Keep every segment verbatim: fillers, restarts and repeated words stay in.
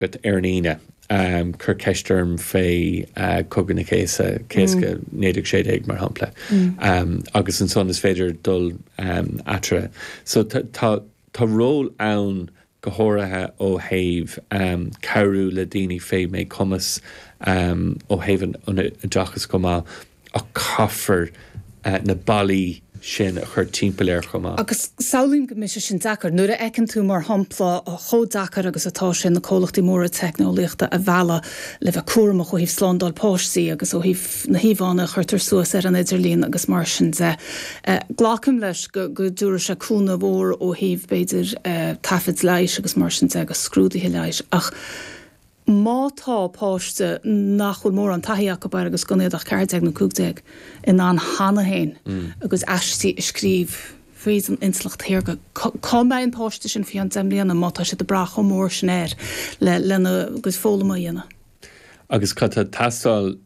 agat ar an Aoine, cuir ceist orm fé Cogadh na Céasa, Céasca naoi déag sé déag mar shampla, agus ansan is féidir dul eatarthu. So tá tá ról ann go háirithe ó thaobh cabhrú le daoine fé mhíchumas, ó thaobh an oideachais chomh maith, ach caithfear na ballaí sin a chur timpeall air chomh maith. Agus samhlaím go mbeidh sé sin deacair. Nuair a fheiceann tú, mar shampla, chomh deacair agus atá sé na comhlachtaí móra teicneolaíochta a mhealladh le bheith cúramach ó thaobh slándáil páistí agus ó thaobh na híomhánna a chuirtear suas ar an idirlíon agus mar sin de. Glacaim leis go go dtabharfaidh sé cúnamh mhór ó thaobh, b'fhéidir, taifid leighis agus mar sin de agus scrúduithe leighis ach má tá páiste nach bhfuil mórán taithí acu air agus gan iad ach ceathair déag nó cúig déag in ann cheana féin agus aistí a scríobh fríd an intleacht shaorga, cá mbeidh an páiste sin faoi cheann deich mbliana má tá siad ag brath chomh mór sin air le lena gcuid foghlama a dhéanamh? Agus cad tá ag teastáil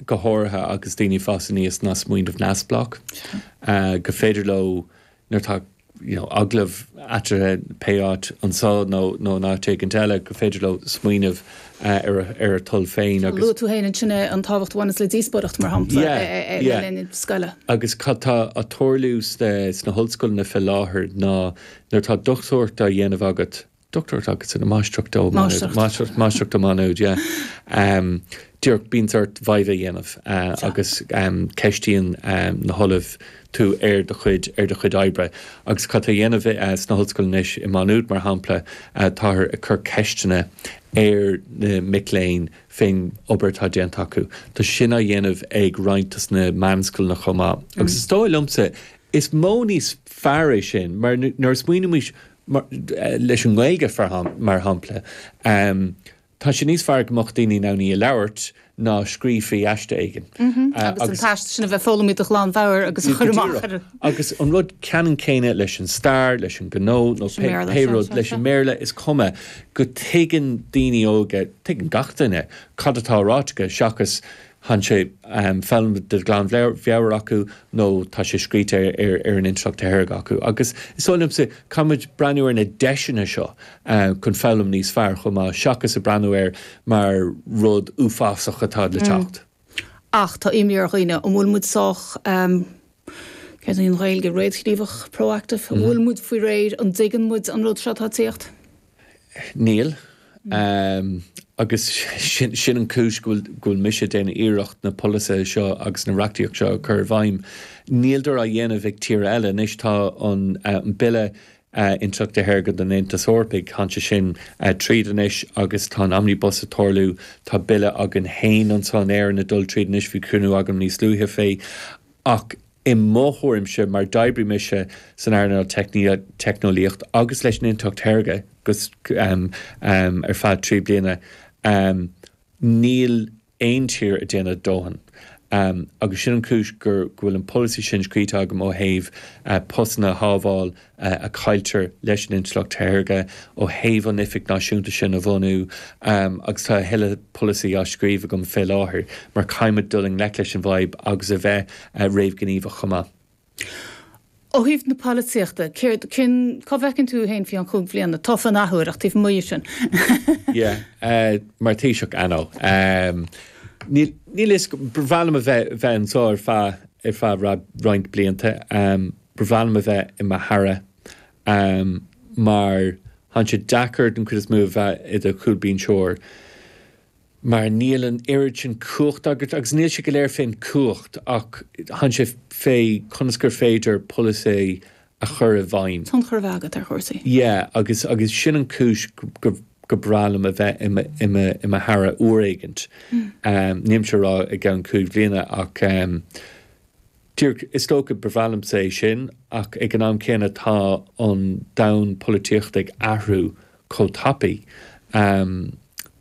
go háirithe agus daoine ag fás aníos ná smaoineamh neamhspleách, go féidir leo nuair atá you know, agallamh eatarthu pé áit anseo nó nó in áit éigin eile, go féidir leo smaoineamh ar ar a dtoil féin agus. Luaigh tú féin ansin an tábhacht a bhaineas le díospóireacht mar shampla le linn na scoile. Agus cad tá ag tarlú sna hollscoileanna fé láthair ná nuair atá dochtúireacht á dhéanamh agat, dochtúireacht agus ina máistreacht ó máistreacht máistreacht ó Má Nuad, yeah. Um, díreach bíonn ort viva a dhéanamh uh, agus um, ceistíonn um, na hollaimh tú ar do chuid ar do chuid oibre. Agus cad tá á dhéanamh uh, sna hollscoileanna anois i Má Nuad mar shampla uh, táthar ag cur ceisteanna ar na mic léinn fén obair atá déanta acu. Tá sin á dhéanamh ag roinnt dos na meánscoileanna chomh maith. Agus is dóigh liomsa is modh níos fearr é sin mar nuair a smaoinímid leis an nGaeilge mar shampla, tá sé níos fearr go mbeadh daoine in ann í a labhairt ná scríobh faoi aiste éigin. Agus an t-aiste sin a bheith foghlamtha de ghlanmheabhair agus a chur amach ar. Agus an rud ceannann céanna leis an stair, leis an gnó nó pé rud, leis an mBéarla, is cuma go dtuigeann daoine óga, tuigeann gach duine cad atá ráite aige seachas Tá sé foghlamtha de ghlanmheabhair acu nó tá sé scríte ar an intleacht shaorga acu. Agus is dóigh liomsa, caithfimid breathnú ar na deiseanna seo chun foghlaim níos fearr chomh maith, seachas ag breathnú air mar rud uafásach atá le teacht. Ach tá imní ar dhaoine, an bhfuil muid sách, céard í an Ghaeilge, réamhghníomhach, proactive? An bhfuil muid faoi réir, an dtuigeann muid an rud seo atá ag tíocht? Níl. Agus sin an chúis go bhfuil mise ag déanamh iarracht na polasaithe seo agus na reachtaíocht seo a chur i bhfeidhm. Níltear á dhéanamh ag tíortha eile. Anois tá an Bille Intleachta Shaorga don Aontas Eorpaigh, tá sé sin tríd anois agus tá an Omnibus ag tarlú. Tá bille againn féin anseo in Éirinn ag dul tríd anois, bhí cruinniú agam níos luaithe fé. Ach i mo thuairimse, mar d'oibrigh mise san earnáil teicneolaíocht agus leis an intleacht shaorga ar feadh trí bliana, níl aon tír ag déanamh dóthain. Agus sin an chúis go bhfuil an polasaí sin scríte agam ó thaobh postanna a shábháil a chailltear leis an intleacht shaorga, ó thaobh an oifig náisiúnta sin a bhunú, agus tá a thuilleadh polasaí á scríobh agam fé láthair, mar caithfimid dul i ngleic leis an bhfadhb agus a bheith réamhghníomhach chomh maith. Ó thaobh na polaitíochta, céard, cén, cá bhfeiceann tú féin faoi cheann cúig bhliana? Tofa an athuair, ach taobh amuigh de sin. Yeah, mar Thaoiseach, I know. Níl, níl fhios, ba bhreá liom a bheith, bheith anseo ar feadh, ar feadh roinnt blianta. Ba bhreá liom a bheith i mo haire mar tá sé deacair den chuid is mó a bheith i do chúlbhinseoir mar níl an oiread sin cumhacht agat agus níl sé go léir fén cumhacht ach tá sé fé conas gur féidir polasaí a chur i bhfeidhm. Tionchar a bheith agat ar chúrsaí. Yeah, agus agus sin an chúis go go breá liom a bheith i mo i mo i mo haire uair éigint. Nílimse ag rá i gceann cúig bhliana ach díreach is dócha ba bhreá liomsa é sin ach ag an am céanna tá an domhan polaitíochta ag athrú chomh tapaidh.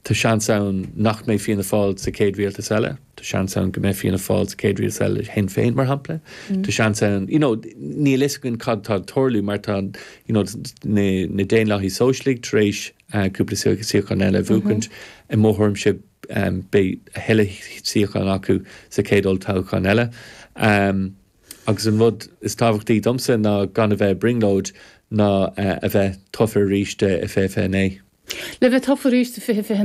Tá seans ann nach mbeidh Fianna Fáil sa chéad rialtas eile, tá seans ann go mbeidh Fianna Fáil sa chéad rialtas eile le Shinn Féin mar shampla, tá seans ann, you know, níl fhios againn cad tá ag tarlú mar tá, you know, na, na Daonlathaigh Sóisialaigh tar éis cúpla suíochán eile a bhuachaint, i mo thuairimse beidh a thuilleadh suíochán acu sa chéad olltoghchán eile. Agus an rud is tábhachtaí domsa ná gan a bheith i brionglóid ná a bheith tofa arís i fiche fiche a naoi. Le bheith tofa arís fiche fiche